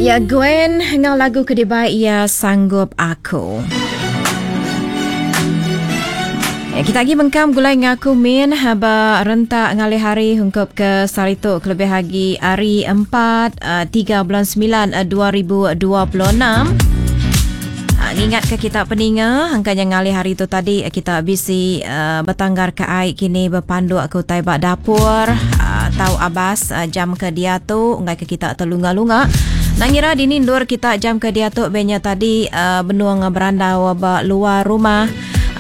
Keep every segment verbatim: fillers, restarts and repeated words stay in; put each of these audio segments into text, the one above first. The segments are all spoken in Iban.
Ya Gwen ngau lagu ke dibai ya Sanggup Aku. Ya, kita lagi mengkam gulai ngaku min ba rentak ngalih hari hungkup ke saritu kelebih lagi hari empat tiga bulan sembilan dua ribu dua puluh enam. Ingat ke kita peninga angkanya ngalih hari tu tadi kita bisi uh, bertanggar ke ai kini berpanduk ke utai ba dapur uh, tau abas uh, jam ke dia tu ngai ke kita terlunga-lunga. Nangira dini ndur kita jam ke dia tu benya tadi uh, benuang berandau ba luar rumah.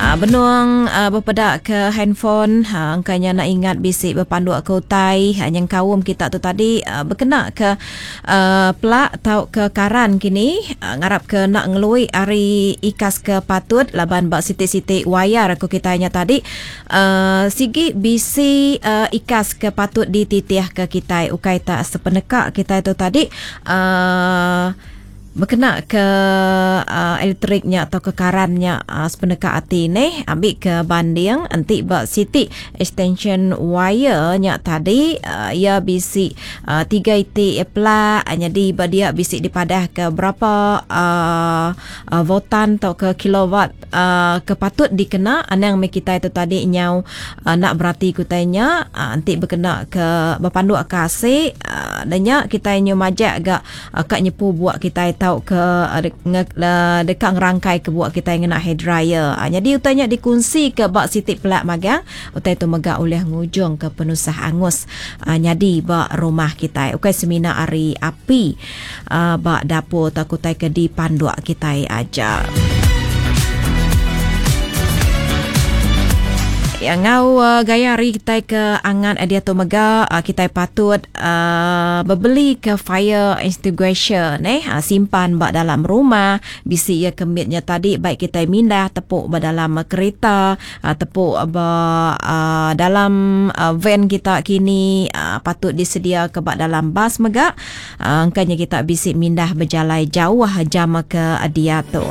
Uh, benuang uh, berpedak ke handphone uh, angkanya nak ingat bisi berpanduk ke utai uh, yang kaum kita tu tadi uh, berkena ke uh, pelak tau ke karan kini uh, ngarap ke nak ngelui hari ikas ke patut laban bak siti-siti wayar aku kitanya tadi uh, sigi bisi uh, ikas ke patut dititih ke kita ukai tak sepeneka kita tu tadi uh, berkena ke uh, elektriknya atau ke karannya uh, sepeneka hati ni ambil ke banding anti bak siti extension wire nya tadi uh, ia bisi uh, tiga iti plak jadi ba dia bisi dipadah ke berapa uh, uh, voltan atau ke kilowatt uh, ke patut dikena anang me kita itu tadi nyau uh, nak berarti kutainya uh, anti berkena ke berpanduk ke asik uh, danya kita nyu majak gak uh, kak nyepu buat kita tau ke dekat ngerangkai ke buat kita yang nak hair dryer. Ha, jadi utanya dikunci ke bak sitik pelak magang, utai tu megak oleh ngujung ke penusah angus. Ha, jadi bak rumah kita. Ukai semina ari api ha, bak dapur tak utai ke di panduk kita aja. Yang ngau uh, gaya hari kita ke angan dia tu mega uh, kita patut uh, berbeli ke fire extinguisher eh uh, simpan bak dalam rumah bisi ia kemitnya tadi baik kita mindah tepuk ba dalam kereta uh, tepuk ba uh, dalam uh, van kita kini uh, patut disedia ke bak dalam bas mega uh, angkanya kita bisi mindah berjalai jauh jam ke dia tu.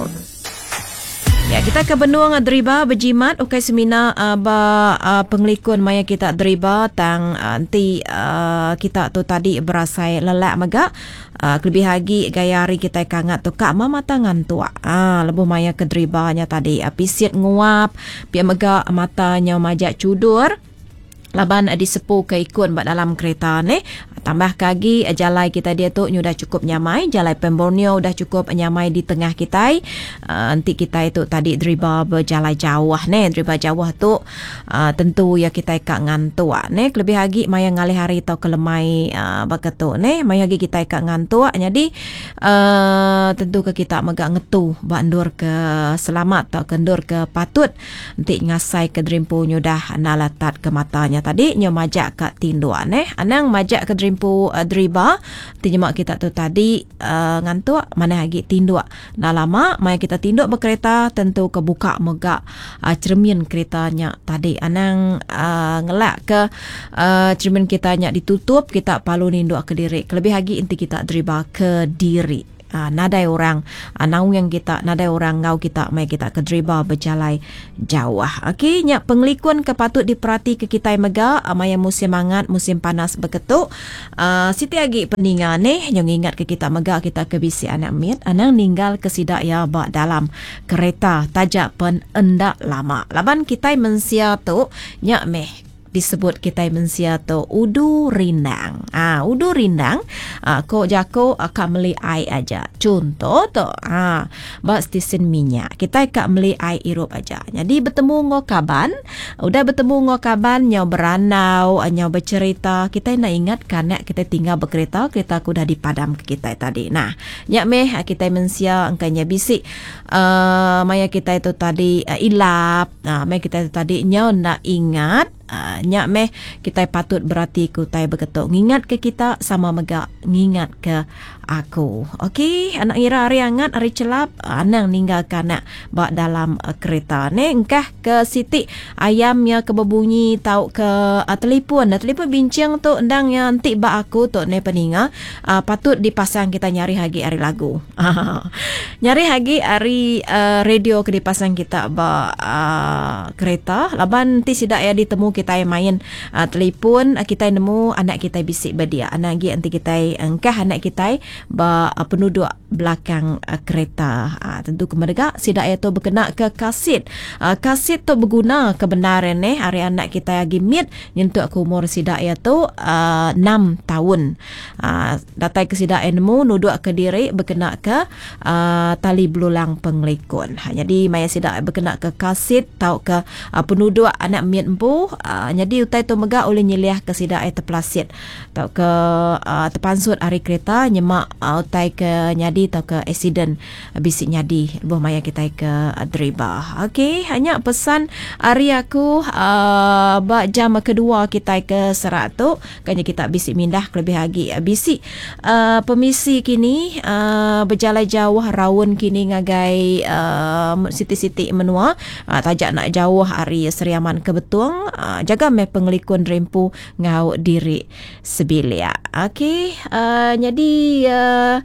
Ya, kita ke benuang deriba berjimat ukai semina uh, ba uh, pengelikun maya kita deriba tang nanti uh, kita tu tadi berasai lelak mega uh, kelebih lagi gaya hari kita kangat tu kak mama tangan tua ah lebuh maya ke deribanya tadi uh, pisit nguap pia mega matanya majak cudur laban disepu ke ikun bak dalam kereta ni. Tambah kagi jalai kita dia tu dah cukup nyamai, jalai Pemborneo dah cukup nyamai di tengah kita. Uh, nanti kita itu tadi deriba berjalai jauh ni, deriba jauh tu uh, tentu ya kita kak ngantuk ni. Lebih lagi maya ngalih hari atau kelemai uh, baketu ni, maya lagi kita kak ngantuk. Jadi uh, tentu ke kita megak ngetu bak ndur ke selamat atau kendur ke patut. Nanti ngasai ke derimpu nyudah nalatat ke matanya tadi nyo majak kat tinduan eh anang majak ke derimpu uh, deriba tinjemak kita tu tadi uh, ngantuk mana lagi tinduk dah lama maya kita tinduk berkereta tentu kebuka megak uh, cermin keretanya tadi anang uh, ngelak ke uh, cermin kitanya ditutup kita palu ninduk ke diri kelebih lagi inti kita deriba ke diri. Ha, nadai orang ha, naung yang kita nadai orang ngau kita mai kita ke deriba berjalai jauh. Okey, nyak pengelikun ke patut diperhati ke kita mega maya musim hangat musim panas berketuk. Uh, siti agi peninga ni yang ingat ke kita mega kita ke bisi anak mit anang ninggal ke sidak ya bak dalam kereta tajak pen endak lama. Laban kita mensia tu nyak meh disebut kita mensia tu udu rindang. Ah, udu rindang, ah, kok jako kak meli air aja. Contoh tu, ah, bak stesen minyak. Kita kak meli air irup aja. Jadi bertemu ngo kaban, udah bertemu ngo kaban nyau beranau, nyau bercerita, kita nak ingat kan kita tinggal berkereta, kereta aku dah dipadam ke kita tadi. Nah, nyak meh kita mensia angkanya bisik uh, maya kita itu tadi uh, ilap. Nah, maya kita itu tadi nyau nak ingat Uh, nyak meh kita patut berarti ku tai berketuk ngingat ke kita sama megak ngingat ke aku. Okey, anak ngira hari hangat hari celap anang ninggalkan nak bak dalam uh, kereta ni engkah ke sitik ayamnya ke berbunyi tau ke uh, telefon. Nah, telefon bincang tu endang yang antik bak aku tu ni peninga uh, patut dipasang kita nyari hagi hari lagu. Nyari hagi hari uh, radio ke dipasang kita bak uh, kereta laban ti sidak ya ditemu kita main uh, telefon uh, kita nemu anak kita bisik berdia. Anak lagi anti kita engkah anak kita ba penuduk belakang kereta. Tentu ke mega sida iya tu bekena ke car seat. Car seat tu beguna ke bendar neh ari anak kitai agi mit nyentuk ke umur sida iya tu enam taun. Datai ke sida iya nemu nuduk ke diri bekena ke tali belulang pengelikun. Nyadi maya sida bekena ke car seat tauka penuduk anak mit empu nyadi utai tu mega ulih nyeliah ke sida iya tepelasit tauka tepansut ari kereta nyema utai ke nyadi tauka accident bisi nyadi lebuh maya kitai ke deriba. Okey nya pesan ari aku uhh ba jam kedua kitai ke serak tu kan kita bisi mindah kelebih agi bisi uhh pemisi kini uhh bejalai jauh raun kini ngagai uhh siti-siti menua taja enda jauh ari Sri Aman ke Betong jaga meh pengelikun rimpu enggau diri sebilik. Okey uhh nyadi uhh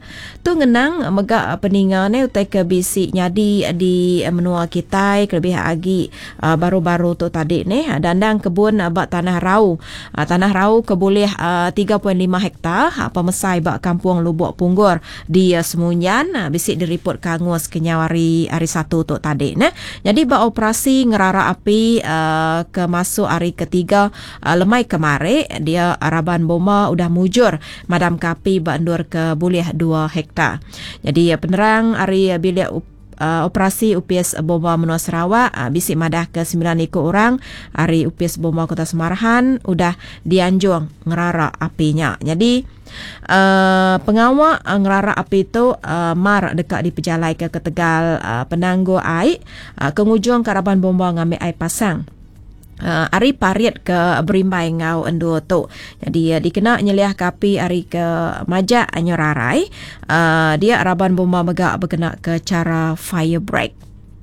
tu ngenang mega peninga ne utai ke bisi nyadi di menua kitai kelebih agi baru-baru tu tadi neh dandang kebun ba Tanah Rau. Tanah Rau ke bulih tiga point lima hektar pemesai ba Kampung Lubok Punggor di Semunjan bisi diripot ke angus kenyau hari hari Satu tu tadi neh. Nyadi ba operasi ngerara api ke masuk hari ketiga lemai kemari dia raban bomba udah mujur madamka api ba endur ke bulih dua hektar. Nyadi penerang ari bilik operasi Opis Bomba Menua Sarawak bisi madahka semilan iku orang ari Opis Bomba Kota Samarahan udah dianjung ngerara api nya. Nyadi uhh pengawa ngerara api tu mar deka dipejalaika ketegal penanggul ai ke ngujungka raban bomba ngambi ai pasang. Ari parit ke berimbai enggau endur tu. Nyadi dikena nyeliahka api ari ke majak nyerarai, dia raban bomba mega bekenaka chara fire break.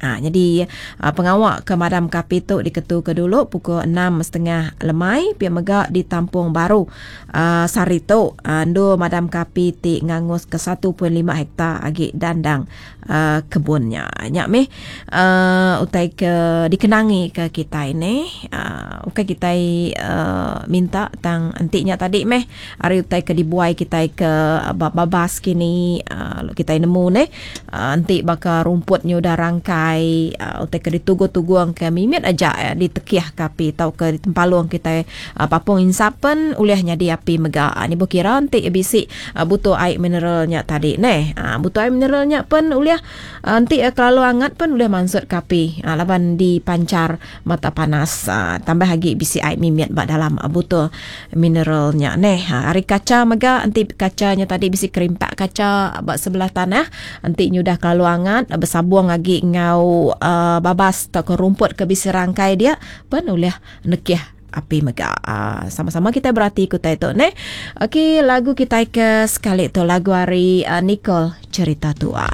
Ha, nyadi pengawa ke madamka api tu diketuka dulu pukul enam setengah lemai pia mega ditampung baru uhh sehari tu endur madamka api ti nganguska satu point lima hektar agi dandang uhh kebun nya. Nya mih uhh utai ke dikenangi ke kitai nih uhh ukai kitai uhh minta tang enti nya tadi meh ari utai ke dibuai kitai ke ba babas kini uhh kitai nemu neh uhh enti baka rumput nya udah rangkai uhh utai ke ditugung-tugung ke mimit aja ditekih ke api tauka ditempalung kitai papung insap pen ulih nyadi api mega. Nibuh kira enti bisi butuh ai mineral nya tadi neh. Butuh ai mineral nya pen ulih enti kelalu angat pen ulih mansut ke api laban dipanchar mata panas. Tambah agi bisi ai mimit ba dalam butuh mineral nya neh. Ari kacha mega enti kacha nya tadi bisi kerimpak kacha ba sebelah tanah enti nyudah kelalu angat besabung agi enggau babas tauka rumput ke bisi rangkai dia pen ulih nekih api mega. Sama-sama kitai berati ku utai tu neh. Okey lagu kitai ke sekali tu lagu ari Nicole Cerita Tua.